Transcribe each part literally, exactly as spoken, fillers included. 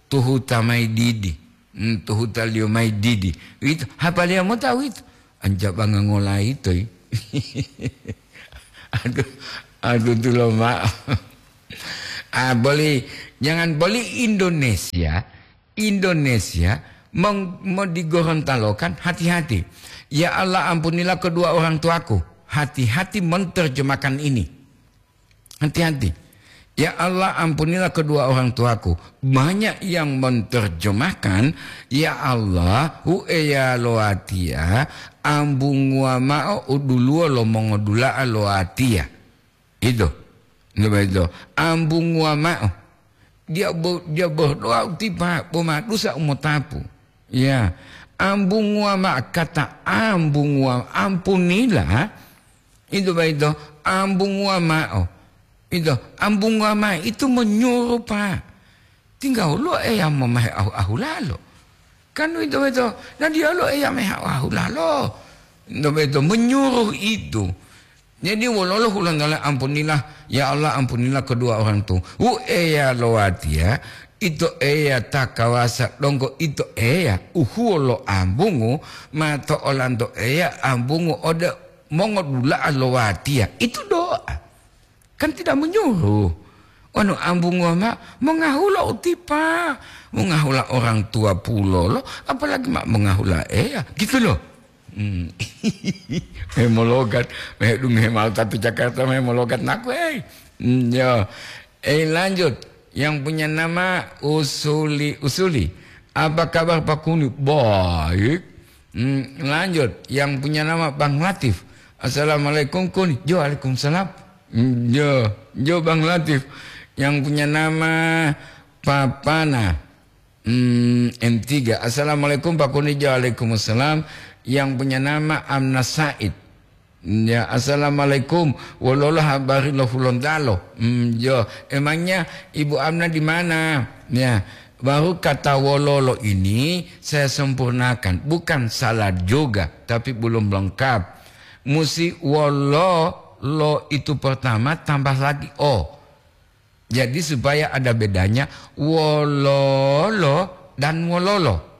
tuhuta mayi didi, mm, tuhutaliyo mayi didi. Uwito, hapaliya mota uwito. Anjabanga ngolayito yi. Aduh, aduh, dulo ma'o. Ah, boli, jangan boli Indonesia, Indonesia meng-, mo di Gorontalo kan, hati-hati. "Ya Allah, ampunilah kedua orang tuaku." Hati-hati menerjemahkan ini. Hati-hati. "Ya Allah, ampunilah kedua orang tuaku." Banyak yang menerjemahkan, "Ya Allah, hu Eya lo watiya, ambunguwa ma'o u duluwo lo mongodula'a lo watiya." Itu. Coba itu. Ambunguwa ma'o. Dia bo-, dia berdoa utipa, bo ma dusa umotapu. Ya. Ambunguwa ma'o, kata ambunguwa, ampunilah. Itu baito, ambunguwa ma'o. Itu, ambunguwa ma'o itu menyuruh, Pak. Tingga woluwo Eya momahe ahu-ahulalo. Kan uwito boyito, na diyaluwo Eya mehe ahu-ahulalo. Uwito boyito menyuruh itu. Jadi wololo hulontalo ampunilah, ya Allah ampunilah kedua orang tu. Wu Eya lo watiya, ito Eya ta kawasa donggo ito Eya, uhuwo lo ambungu, ma to olanto Eya ambungu ode mongodula'a lo watiya. Itu doa. Kan tidak menyuruh. Wanu ambunguwa ma'o, mongahula utipa, mongahula orang tua pulolo, apalagi ma mongahula Eya, gitu loh. Hmm. Hemologat, mehedunge mao tatu Jakarta, mehemologat naku, hei. Hmm, ya. Eh, lanjut. Yang punya nama Usuli, Usuli. Apa kabar Pak Kuni? Baik. Hmm, lanjut. Yang punya nama Bang Latif. "Assalamualaikum, Kuni." "Jo, waalaikumsalam." Hmm, jo, jo, Bang Latif. Yang punya nama Papana. Hmm, M tiga. "Assalamualaikum, Pak Kuni." "Jo, waalaikumsalam." Yang punya nama Amna Said. Ya, "Assalamualaikum. Wololo habari lo Hulontalo?" Hmm, jo. "Emangnya Ibu Amna di mana?" Ya, baru kata "wololo" ini saya sempurnakan. Bukan salah juga, tapi belum lengkap. Musi "wololo" itu pertama tambah lagi "o". Jadi supaya ada bedanya "wololo" dan "wololo".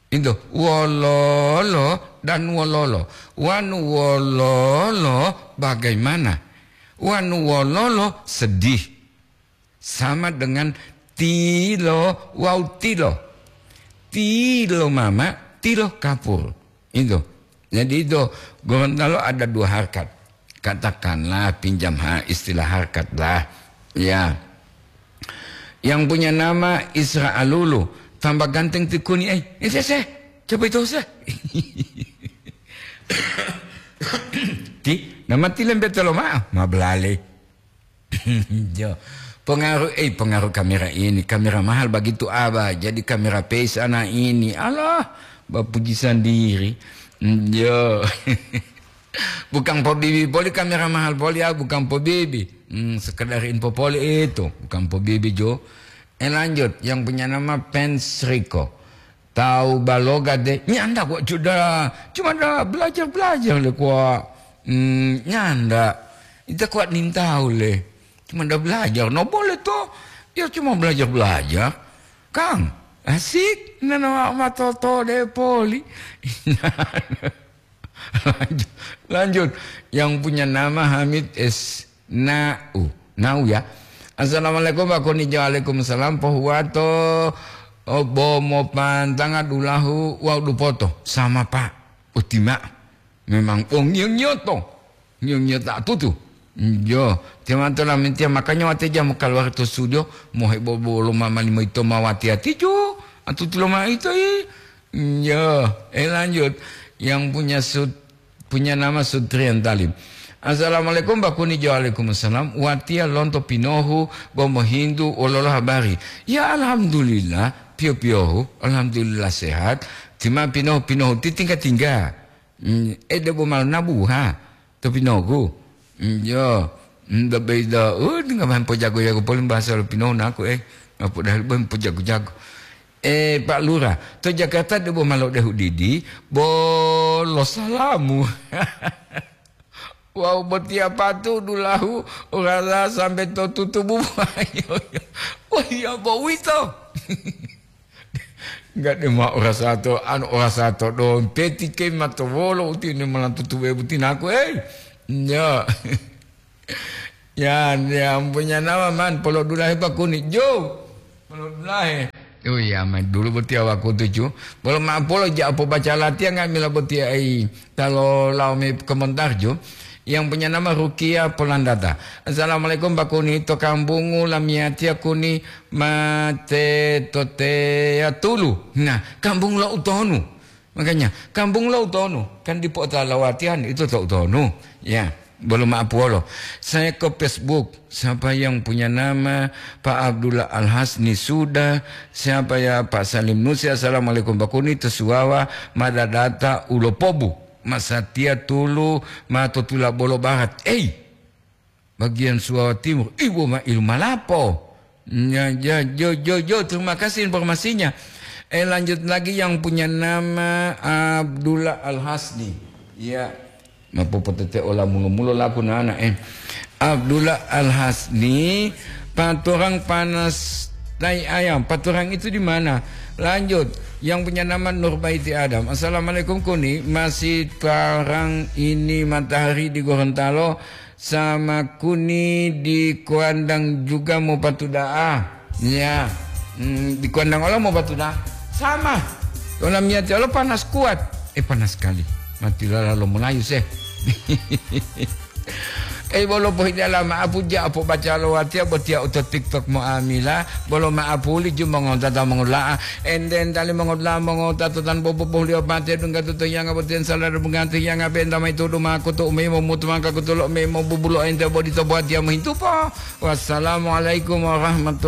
Itu, "wololo" dan "wololo". Wanu "wololo" bagaimana? Wanu "wololo" sedih. Sama dengan tilo wawu tilo. Tilo mama, tilo kapur. Itu. Jadi itu, Gorontalo ada dua harkat. Katakanlah, pinjam ha-, istilah harkat lah. Ya. Yang punya nama Isra Alulu, tambah ganteng ti Kuni, eh. Eh, se, se. Coba itu, se. Ti, nama ti lembetelo ma'o, ma belale. Jo. Pengaruh, eh, pengaruh kamera ini, kamera mahal begitu, Abah. Jadi kamera peis ana ini. Alah, bapuji sendiri. Jo. Bukan pobibi poli kamera mahal poli, ah, bukan pobibi. Hmm, sekedar info poli itu, bukan pobibi, jo. Eh, lanjut, yang punya nama Pens Rico. Tawu baloga de, nyanda kuwa cuda, cuma da belajar-belajar le kuwa. Hmm, nyanda. Ita kuwa nintawu le. Cuma da belajar, no boleh to. Ya cuma belajar-belajar. Kang, asik, nana ma, ma toto de poli. Lanjut, lanjut. Yang punya nama Hamid S. Nau. Nau ya. "Assalamualaikum, Pak Kuni." "Waalaikumsalam." "Pohuwato, oh, bo mopantanga dulahu wawu dupoto." "Sama, Pak." "Utima." Memang, oh, ngiyo-ngiyoto. Ngiyo-ngiyo ta tutu. Iyo. Timanto lamintiya, makanya wate jamu kaluwari to studio, mohebo bolo mama limo ito ma wati-wati ju. Atutu loma'o ito yi. Iyo. Eh, lanjut. Yang punya sut-, punya nama Sutrian Talim. "Assalamualaikum, Pak Kuni." "Jo, waalaikumsalam. Watiya lonto Pinohu, bo mohintu wololo habari." "Ya, alhamdulillah, piyo-piyohu. Alhamdulillah sehat. Tima Pinohu, Pinohu ti tingga-tingga." Hmm, eh, debo malo nabuha to Pinohu. Hmm, yo. Hmm, do beida, uh, tingga mahen pojago-jago poli bahasa lo Pinohu naku, eh. Ngapu dahil ben pojago-jago. Eh, Pak Lurah, to Jakarta debo malo dehu didi, bolo salamu. Wawu botiya patu dulahu orasa sambe to tutubu buwayo. Wah, iya bowito. Enggak deh, ma orasa to, anu, orasa to dompeti ke ma to wolo utine malantutu we butinaku, eh. Ya. Ya, ya, punya nama man, polo dulahe pakuni, jo. Polo dulahe. Oh iya, main dulu botiya wakutu, ju. Polo ma polo ja pobaca latihan nga'amila botiya ai. Talo lao me komentar, ju. Yang punya nama Rukia Polandata. Assalamualaikum, Pak Kuni. To kambungu lamiyatiya Kuni mate toteya tulu. Nah, kambung lo utonu. Makanya, kambung lo utonu. Kan dipo'ota lawatian itu to utonu. Ya, belum maapuolo. Saya ke Facebook. Siapa yang punya nama Pak Abdullah Al-Hasni sudah? Siapa ya Pak Salim Nusi? Assalamualaikum, Pak Kuni. To Suwawa, madadata ulopobu. Masatiya tulu ma to Tulabolo Barat. Ei, bagian Suwawa Timur. Ibu ma ilu malapo. Ya, ya, jo, jo, jo, terima kasih informasinya. Eh, lanjut lagi yang punya nama Abdullah Al-Hasni. Ya, ma popotete ola mulo-mulo laku nana, eh. Abdullah Al-Hasni, paturang panas tai ayam. Paturang itu di mana? Lanjut, yang punya nama Nurbaiti Adam. Assalamualaikum, Kuni. Masih terang ini matahari di Gorontalo sama Kuni di Kuandang juga mau patuda'a. Ya. Hmm, di Kuandang ola mau patuda'a. Sama. Ola miyati ola panas kuat. Eh, panas sekali. Mati lala lo Melayu seh. Eh, bolo pohidala ma'apu ja apo baca lo watiya botiya uto TikTok mo amila, bolo ma'apu li ju mongota ta mongola'a. Enden tali mongota mongota to tan bobo bohliyo pate dungga to toyanga botiyan sala dungga toyanga benta mai tudu mako to umemo mutu maka kutulo memo bubulo ente bodi to botiya mohintupo. Wassalamualaikum warahmatullahi